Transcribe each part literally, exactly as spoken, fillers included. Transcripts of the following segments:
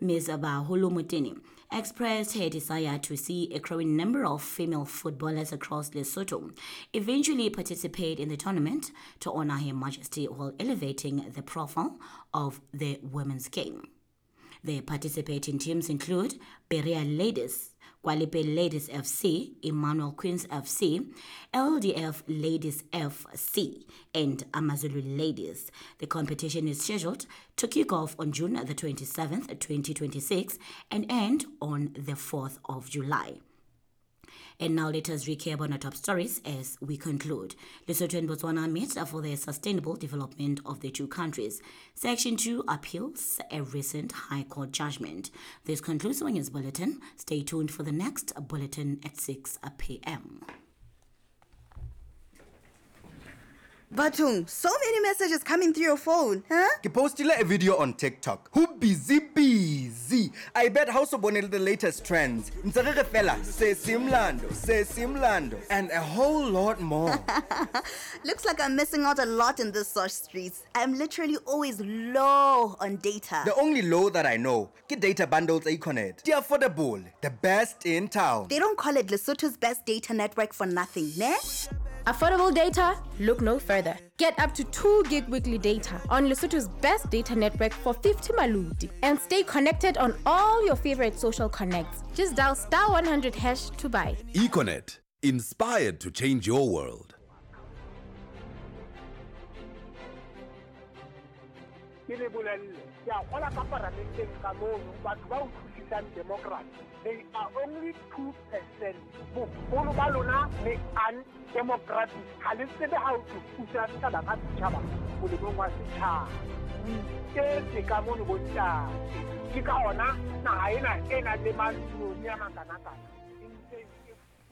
Miz Baholo Motene, expressed her desire to see a growing number of female footballers across Lesotho eventually participate in the tournament to honor Her Majesty while elevating the profile of the women's game. The participating teams include Berea Ladies, Kwalipe Ladies F C, Emmanuel Queens F C, L D F Ladies F C, and Amazulu Ladies. The competition is scheduled to kick off on June the twenty-seventh, twenty twenty-six, and end on the fourth of July. And now let us recap on our top stories as we conclude. Lesotho and Botswana meet for the sustainable development of the two countries. Section two appeals a recent High Court judgment. This concludes our news bulletin. Stay tuned for the next bulletin at six p m Batung, so many messages coming through your phone, huh? Ke postile a video on TikTok. Who busy busy? I bet house bonele the latest trends. Ntse re re fela, se simlando, se simlando, and a whole lot more. Looks like I'm missing out a lot in this source streets. I'm literally always low on data. The only low that I know, ke data bundles Econet. The affordable, the best in town. They don't call it Lesotho's best data network for nothing, ne? Affordable data? Look no further. Get up to two gig weekly data on Lesotho's best data network for fifty maluti and stay connected on all your favorite social connects. Just dial star one hundred hash to buy. Econet, inspired to change your world. They are only two percent. Boholo ba lona le undemocratic. Ha le tsebe how to pusa setjhaba ka setjhaba molemong wa setjhaba. O iketse ka mono bontate. Ke ka hona naha ena e nang le manoni a makanakana.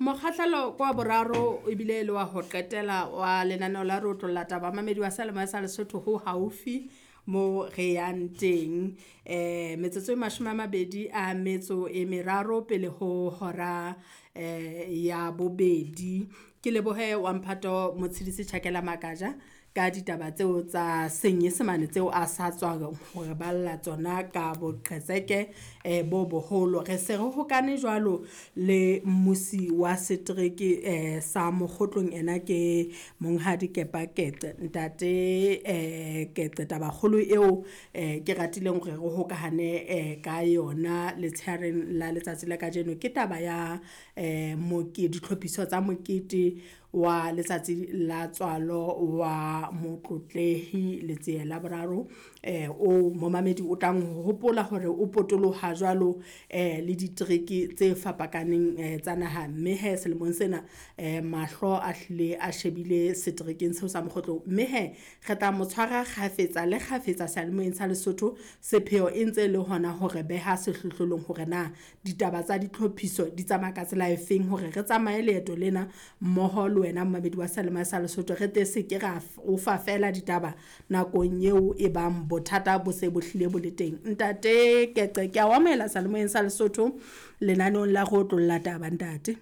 Mokgahlelo kwa boraro ebile le wa ho qetela wa lenaneo la re otlolla taba mamedi wa Seyalemoya sa Lesotho ho haufi mo re yang teng. Eh metsotso e mashome a mabedi a metso e meraro pele ho hora eh ya bobedi. Ke lebohe wa mphato Motshidisi Tjhakela Makaja ka ditaba tseo tsa Senyesemane tseo a sa tswang hore balla tsona ka boqhetseke eh bo boholo. Re se re hokane jwalo le mmusi wa setereke eh sa Mokgotlong, ena ke Monghadi Kepa Keqe. Ntate eh Keqe, taba kgolo eo eh ke ratileng hore re hokahane eh ka yona letsheareng la letsatsi la kajeno ke taba ya eh moke ditlhophiso tsa mokete wa letsatsi la tswalo wa motlotlehi Letsie la boraro eh o momamedi o tlang ho hopola hore o potoloha jwalo eh le ditereke tse fapakaneng eh, tsa naha, mme he selemong sena eh mahlo a hlile a shebile seterekeng seo sa Mokgotlong, mme he re tla mo tshwara kgafetsa le kgafetsa seyalemoyeng sa Lesotho. Sepheo e ntse le hona hore beha sehlohlolong hore na ditaba tsa ditlhophiso di tsamaya ka tsela efeng, hore re tsamaye leeto lena mmoho le wena mmamedi wa Seyalemoya sa Lesotho, re tle se ke ra o fa fela ditaba nakong eo e bang bothata bo se bo hlile bo le teng. Ntate Keqe, ke a o amohela seyalemoyeng sa Lesotho lenaneong la go otlolla taba. Ntate,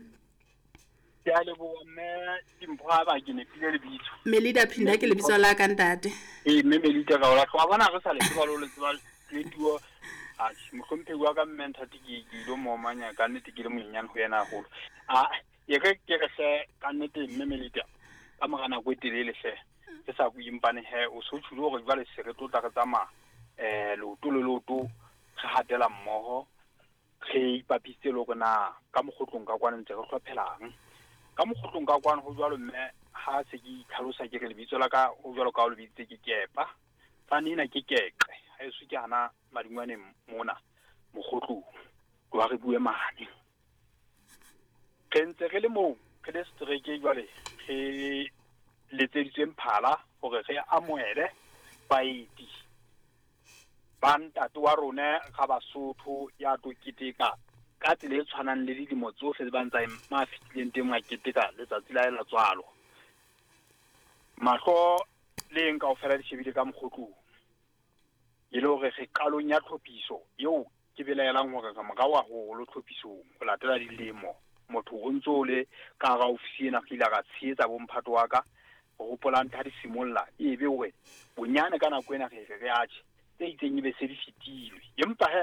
ke a leboha mme Dimpho, ha ba ke nepile lebitso. Melida Phinda ke lebitso la ka ntate. Ee, mme Melida ka o lahla. Wa bona re sa le tseba le tseba le tuo. Atjhe, mohlomphehi wa ka mme ntate ke ke ilo mo omanya ka nnete, ke le monyenyane ho yena haholo. A e re ke re hle ka nnete mme Melida, ka mora nako e telele hle ke sa bue mpane he o so tshule hore jwale se re tlo tla re tsamaya eh leoto le leoto re hatela mmoho, re ipapisitse le hore na ka Mokgotlong ka kwana ntse re hlophelang. Ka Mokgotlong ka kwana ho jwalo mme ha se ke itlhalosa ke re lebitso la ka ho jwalo ka o lebitse ke Kepa, fane ena ke Keqe, ha eso ke hana madingwaneng mona Mokgotlong wa re bue mane. Re ntse re le moo re le setereke jwale re letseditswe mphala hore re amohele baeti ba ntate wa rona ga Basotho ya tlo keteka ka tsela e tshwanang le dilemo tsohle tse ba ntseng ma fitileng teng ma keteka letsatsi la la tswalo. Mahlo le eng kaofela di shebile ka Mokgotlong, e le hore re qalong ya tlhophiso eo ke belaelang hore re morao haholo tlhophisong ho latela dilemo. Motho o ntso le ka hara ofisi ena re ile ra tshehetsa bomphato wa ka ho hopola ntho ha di simolla, e be hore bonyane ka nako ena re re re atjhe tse itseng e be se di fetilwe. Empa he